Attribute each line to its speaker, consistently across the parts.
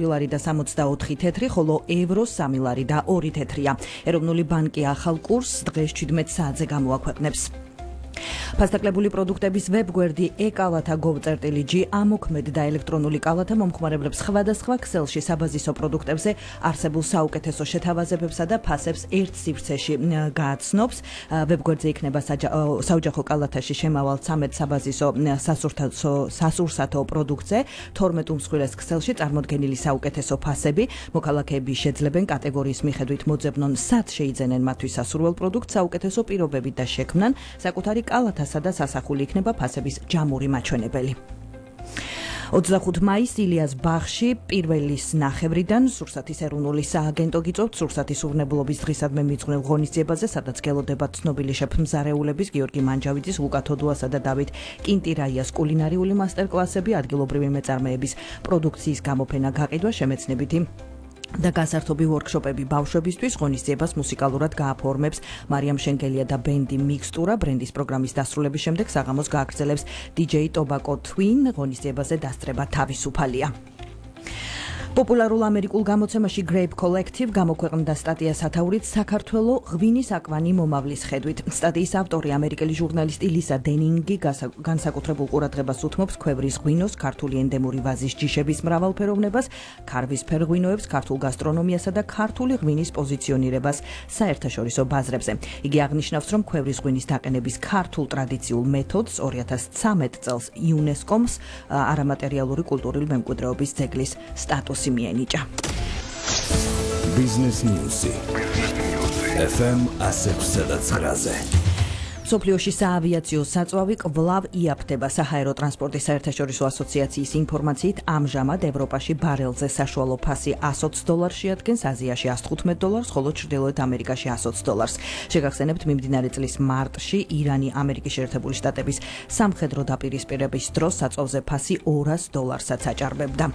Speaker 1: ლარი და 64 თეთრი, ხოლო ევროს 3 ლარი და 2 თეთრია. ეროვნული ბანკი ახალ კურსს დღეს 17 საათზე გამოაქვეყნებს. ფასდაკლებული პროდუქტების ვებგვერდი e-კალათა.gov.g ამოქმედ და ელექტრონული კალათა მომხმარებლებს სხვადასხვა ქსელში საბაზისო პროდუქტებზე არსებულ საუკეთესო შეთავაზებებსა და ფასებს ერთ სივრცეში გააცნობს. ვებგვერდზე იქნება საოჯახო კალათაში შემავალ 13 საბაზისო სასურსათო პროდუქტზე 12 უმსხვილეს ქსელში წარმოდგენილი საუკეთესო ფასები. მოქალაქეები შეძლებენ კატეგორიის მიხედვით მოძებნონ სად შეიძენენ მათთვის სასურველ პროდუქტს საუკეთესო პირობებით და შექმნან საკუთარი კალათასა და სასახული იქნება ფასების ჯამური მაჩვენებელი. 25 მაისს ილიას ბაღში პირველის ნახევრიდან სურსათის ეროვნული სააგენტო გიწევთ სურსათის უვნებლობის დღისადმი მიძღვნილ ღონისძიებაზე, სადაც გელოდება ცნობილი შეფ-მზარეულების გიორგი მანჯავიძის, ლუკა თოდუასა და დავით კინტირაიას კულინარიული მასტერკლასები, ადგილობრივი მეწარმეების პროდუქციის გამოფენა, გაყიდვა, შემეცნებითი და გასართობი ვორქშოპები ბავშვებისთვის. ღონისძიებას მუსიკალურად გააფორმებს მარიამ შენგელია და ბენდი მიქსტურა. ბრენდის პროგრამის დასრულების შემდეგ საღამოს გააგრძელებს DJ Tobacco Twin. ღონისძიებაზე დასწრება თავისუფალია. პოპულარულ ამერიკულ გამოცემაში Grape Collective გამოქვეყნდა სტატია სათაურით საქართველო ღვინის აკვანი მომავლის ხედვით. სტატიის ავტორი ამერიკელი ჟურნალისტი ლისა დენინგი განსაკუთრებულ ყურადღებას უთმობს ქვევრის ღვინოს, ქართული ენდემური ვაზის ჯიშების მრავალფეროვნებას, ქარვისფერ ღვინოებს, ქართულ გასტრონომიასა და ქართული ღვინის პოზიციონირებას საერთაშორისო ბაზრებზე. იგი აღნიშნავს, რომ ქვევრის ღვინის დაყენების ქართულ ტრადიციულ მეთოდს 2013 წელს იუნესკომს არამატერიალური კულტურული მემკვიდრეობის ძეგლის სტატუსი მიენიჭა.
Speaker 2: Business News. FM 106.9.
Speaker 1: მსოფლიოში საავიაციო საწვავი კვლავ იაფთება. საჰაერო ტრანსპორტის საერთაშორისო ასოციაციის ინფორმაციით ამჟამად ევროპაში ბარელზე საშუალო ფასი $120 შეადგენს, აზიაში $115, ხოლო ჩრდილოეთ ამერიკაში $120. შეგახსენებთ, მიმდინარე წლის მარტში ირანი ამერიკის შეერთებული შტატების სამხედრო დაპირისპირების დროს საწვავზე ფასი $200-საც აჭარბებდა.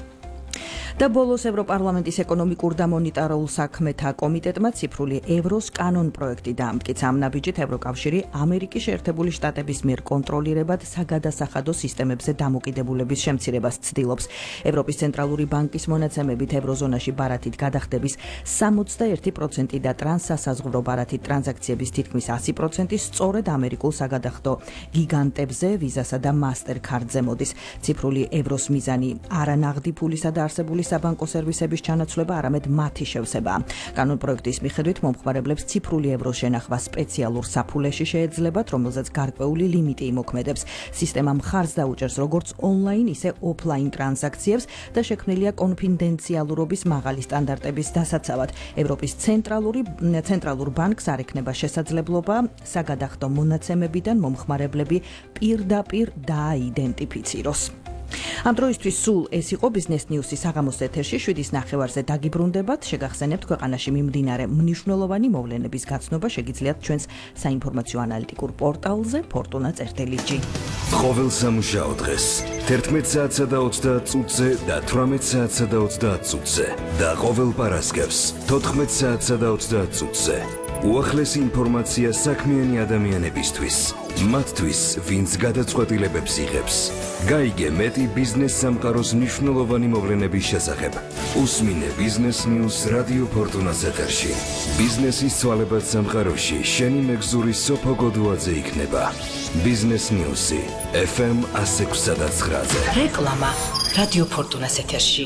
Speaker 1: და ბოლოს ევროპარლამენტის ეკონომიკურ და მონეტარულ საქმეთა კომიტეტმა ციფრული ევროს კანონ პროექტი დაამტკიცა. ამ ნაბიჯით ევროკავშირი ამერიკის შეერთებული შტატების მიერ კონტროლირებად საგადასახადო სისტემებზე დამოკიდებულების შემცირებას ცდილობს. ევროპის ცენტრალური ბანკის მონაცემებით ევროზონაში ბარათით გადახდების 61% და ტრანსსასაზღვრო ბარათით ტრანზაქციების თითქმის 100% სწორედ ამერიკულ საგადახდო გიგანტებზე, ვიზასა და მასტერკარდზე მოდის. ციფრული ევროს მიზანი არანაღდი ფულისა და არსებული საბანკო სერვისების ჩანაცვლება, არამედ მათი შევსება. კანონ პროექტის მიხედვით მომხმარებლებს ციფრული ევროს შენახვა სპეციალურ საფულეში შეეძლებათ, რომელზეც გარკვეული ლიმიტი იმოქმედებს. სისტემა მხარს დაუჭერს როგორც ონლაინ, ისე ოფლაინ ტრანზაქციებს და შექმნილია კონფიდენციალურობის მაღალი სტანდარტების დასაცავად. ევროპის ცენტრალურ ბანკს არ ექნება შესაძლებლობა საგადახდო მონაცემებიდან მომხმარებლები პირდაპირ დააიდენტიფიციროს. ამ დროისთვის სულ ეს იყო Business News-ის საღამოს ეთერში 7:09-ზე დაგიბრუნდებათ. შეგახსენებთ, ქვეყანაში მიმდინარე მნიშვნელოვანი მოვლენების გაცნობა შეგიძლიათ ჩვენს საინფორმაციო ანალიტიკურ პორტალზე fortuna.gr.
Speaker 2: ყოველ სამუშაო დღეს 11 საათსა და 30 წუთზე და 18 საათსა და 30 წუთზე და ყოველ პარასკევს 14 საათსა და 30 წუთზე. უახლესი ინფორმაცია საქმიანი ადამიანებისთვის, მათთვის, ვინც გადაწყვეტილებებს იღებს. გაიგე მეტი ბიზნეს სამყაროს მნიშვნელოვანი მოვლენების შესახებ. უსმინე Business News რადიო ფორტუნას ეთერში. ბიზნესის ცვალებად სამყაროში შენი მეგზური სოფო გოდუაძე იქნება. Business News-ი FM 106.9-ზე.
Speaker 3: რეკლამა რადიო ფორტუნას ეთერში.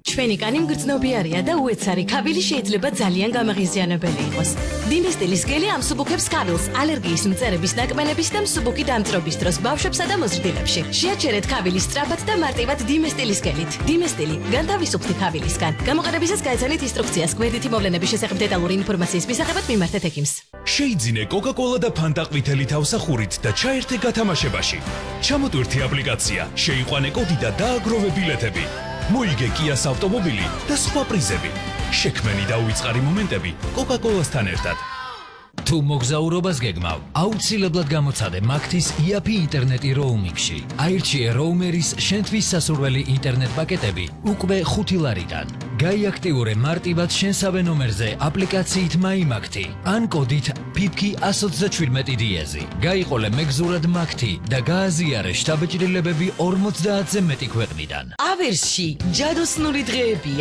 Speaker 3: ჩვენი კანი მგრძნობიარია და უეცარი ქავილი შეიძლება ძალიან გამაღიზიანებელი იყოს. დინესტილის გელი ამსუბუქებს ქავილს ალერგიის მწერების ნაკმენების და მსუბუქი დამწრობის დროს ბავშვებსა და მოზრდილებში. შეაჩერეთ ქავილი სწრაფად და მარტივად დინესტილის გელით. დინესტილი განთავისუფლდი ქავილისგან. გამოყენებისას გაეცანით ინსტრუქციას. გვერდითი მოვლენების შესახებ დეტალური ინფორმაციის მისაღებად მიმართეთ ექიმს.
Speaker 4: შეიძინე კოკა-კოლა და ფანტა ყვითელი თავსახურით და ჩაერთე გათამაშებაში. ჩამოტვირთი აპლიკაცია, შეიყვანე კოდი და დააგროვე ბილეთები. მოიგე კიას ავტომობილი და სხვა პრიზები. შექმენი და უიწყარი მომენტები კოკა-კოლასთან ერთად.
Speaker 5: თუ მოგზაურობას გეგმავ, აუცილებლად გამოცადე მაგთის იაფი ინტერნეტი როუმინგში. აირჩიე როუმერის შენთვის სასურველი ინტერნეტ პაკეტები უკვე 5 ლარიდან. გაიაქტიურე მარტივად შენსავე ნომერზე აპლიკაციით MyMakti ან კოდით PIPKI127 დიეზი. გაიყოლე მეგზურად Makti და გააზიარე შთაბეჭდილებები 50-ზე მეტი ქვეყნიდან.
Speaker 3: ავერსში ჯადოსნური დღეებია.